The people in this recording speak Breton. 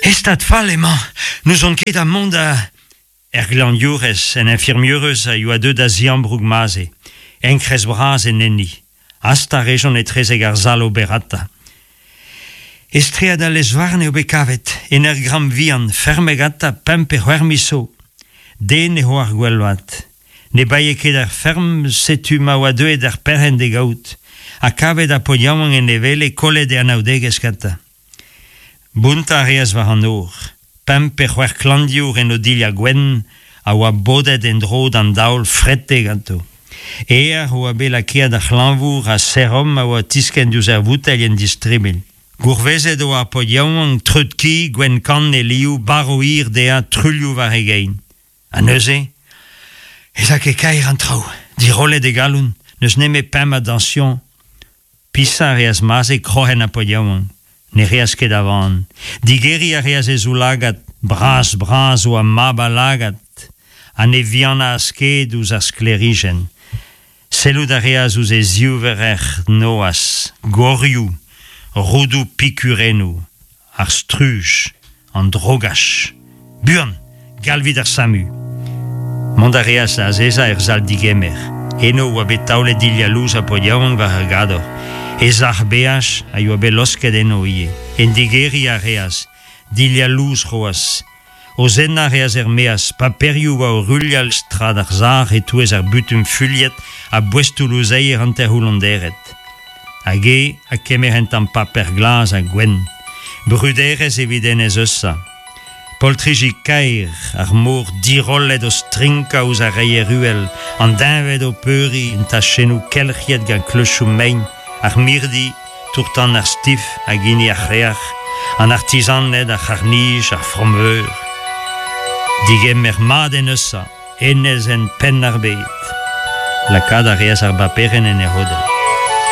E stad fall emañ, n'ouzon ket ha mont da... Er glañvdiourez, en infirmieurez a yoa deuet da ziambroug Maze, enkrez bras en enni. Hastañ a rejont etrezek ar sal oberata. E straed al lez-varn eo bet kavet, en ur gramm vihan, fermet gantañ pemp pe c'hwec'h miz zo. Den ne oar gwell vat. Ne baee ket ar ferm, setu ma oa deuet ar perc'henn d'e gaout. Ha kavet ar paotr yaouank en e wele kollet e anaoudegezh gantañ. Bountañ a reas war an nor. Pemp pe c'hwec'h klañvdiour en o dilhad gwenn a oa bodet en-dro d'an daol frete ganto. Aer oa bet lakaet ar c'hlañvour ha serom a oa tiskenn diouzh ar voutailh en distribilh. Gourvezet oa ar paotr yaouank treut-ki, gwenn-kann e liv, barv hir dezhañ, truilhoù war e gein. Ha neuze ez a ket kaer an traoù, dirollet e galon, n'eus nemet pemp a dañsion. Pisañ a reas Maze kroc'hen ar paotr yaouank. Ne reas ket a van. Digeriñ a reas e zoulagad, bras-bras oa mab al lagad, ha ne vihanaas ket ouzh ar sklêrijenn. Sellout a reas ouzh e zivrec'h noazh, gorioù, roudoù pikurennoù, ar struj, an drogach. Buan, galvit ar SAMU! Mont a reas da azezañ er sal-digemer. Eno oa bet taolet dilhad lous ha paotr yaouank war ar gador. E sac'h beaj a yoa bet losket eno ivez. En digeriñ a reas, dilhad lous c'hoazh. O zennañ a reas er-maez, paperioù oa o ruilhal strad ar sac'h e-touez ar butun fuilhet ha boestoù louzeier hanter-c'houllonderet. Hag e ha kemer un tamm paper glas ha gwenn. Bruderezh evit Enez Eusa. Poltriji kaer, ar mor dirollet o strinkañ ouzh ar reier uhel, an deñved o peuriñ en tachennoù kelc'hiet gant kleuchoù mein, ar mirdi, tour-tan ar Stif hag hini ar C'hreac'h, an artizaned, ar c'harr-nij, ar Fromveur. Digemer mat en Eusa, enezenn Penn-ar-Bed. Lakaat a reas ar baperenn en e c'hodell.